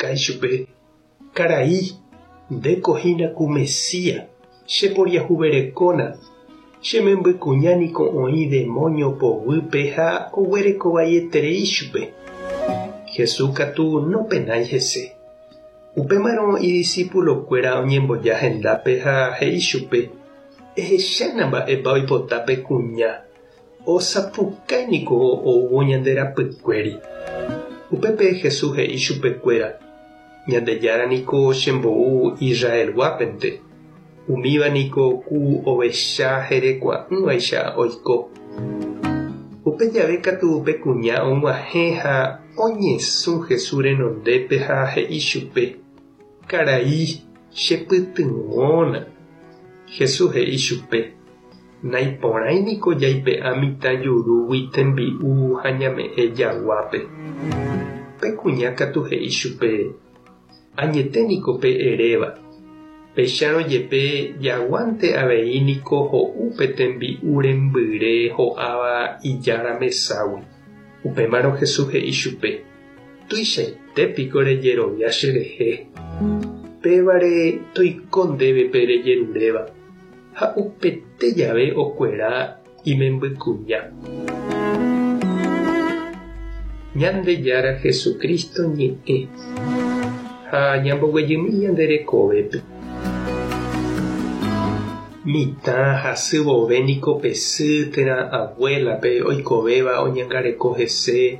osapukái chupe, Karai, ndéko hína ku Mesías, che poriahuverekóna, che membykuña niko oĩ demóño poguýpe ha oguerekovaieterei chupe. Jesús katu nopenái hese. Upémarõ idisipulokuéra oñemboja hendápe ha he'i chupe, Ehechána mba'épa oipota pe kuña, osapukái niko oúvo ñande rapykuéri. Upépe Jesús he'i chupekuéra, Ñandejára niko chembou Israelguápente, umíva niko ku ovecha herekua'ỹvaicha oiko. Upe jave katu pe kuña og̃uahẽ ha oñesũ Jesús renondépe ha he'i chupe, Karai, chepytyvõna. Jesús he'i chupe, Naiporãi niko jaipe'a mitã jurúgui tembi'u ha ñame'ẽ jaguápe. Pe kuña katu he'i chupe, Añete niko pe eréva. Péicharõ jepe jaguánte avei niko ho'u pe tembi'u rembyre ho'áva ijára meságui. Upémarõ Jesús he'i chupe, Tuichaite piko rejerovia cherehe. Pévare toiko ndéve pe rejeruréva. Ha upete jave okuera imembykuña. Ñandejára Jesucristo ñe'ẽ ha ñamboguejymi ñande rekovépe. Mitã hasy vove niko pe sy térã abuélape oikovéva oñangareko hese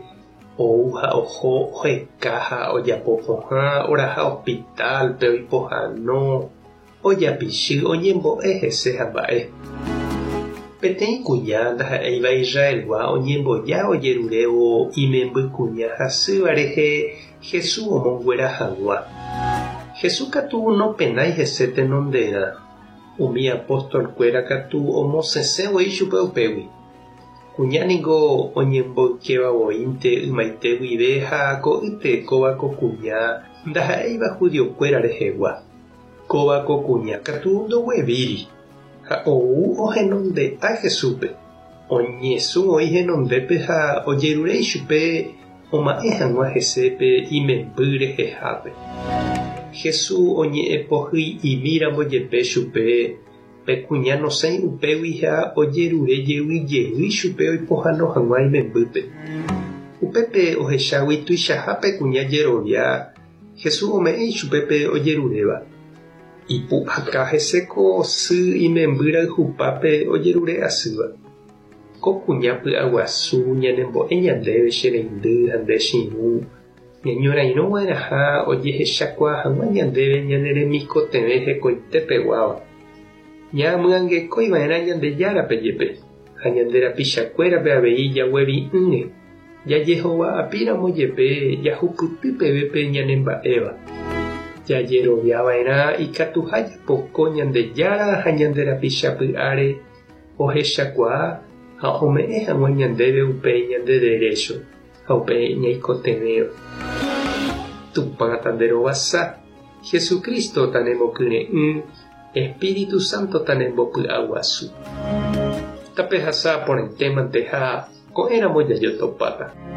ou ha oho oheka ha ojapo pohã oraha hospital-pe oipohãno Ojapichy oñembo'e hese ha mba'e. Peteĩ kuña ndaha'éiva Israelgua oñemboja ojerurévo imemby kuña hasýva rehe Jesús omonguera hag̃ua. Jesús katu nopenái hese tenonderã, umi apóstol-kuéra katu omosẽsẽ voi chupe upégui. Kuña ningo oñemboykéva voínte ymaite guive ha ko'ýte kóva ko kuña ndaha'éiva judiokuéra rehegua. Kóva ko kuña katu ndoguevíri, ha ou ohenonde'a Jesúspe. Oñesũ oĩ henondépe ha ojerure ichupe oma'ẽ hag̃ua hese pe imemby rehehápe. Jesús oñe'ẽ pohyi'imi ramo jepe chupe, pe kuña nosẽi upégui ha ojerure jey jey chupe oipohãno hag̃ua imembýpe. Upépe ohechágui tuichaha pe kuña jerovia Jesús ome'ẽ ichupe pe ojeruréva. Ipu'aka hese ko sy imemby rayhupápe ojerure asýva. Ko kuña py'aguasu ñanembo'e ñandéve che reindy ha nde che irũ, ñañorairõ va'erãha ojehechakuaa hag̃ua ñandéve ñane remikotevẽ hekoite peguáva. Ñamyangekói va'erã Ñandejárape jepe ha ñande rapichakuérape avei jaguevi'ỹre. Jajehova'apíramo jepe jahupyty peve pe ñanemba'éva, jajeroviava'erã ikatuha japoko Ñandejára ha ñande rapicha py'áre ohechakuaa ha ome'ẽ hag̃ua ñandéve upe ñande derécho ha upe ñaikotevẽva. Tupã tanderovasa, Jesucristo tanemokyre'ỹ, Espíritu Santo tanembopy'aguasu. Tapehasa porãitémante ha Ko'ẽramo jajotopáta.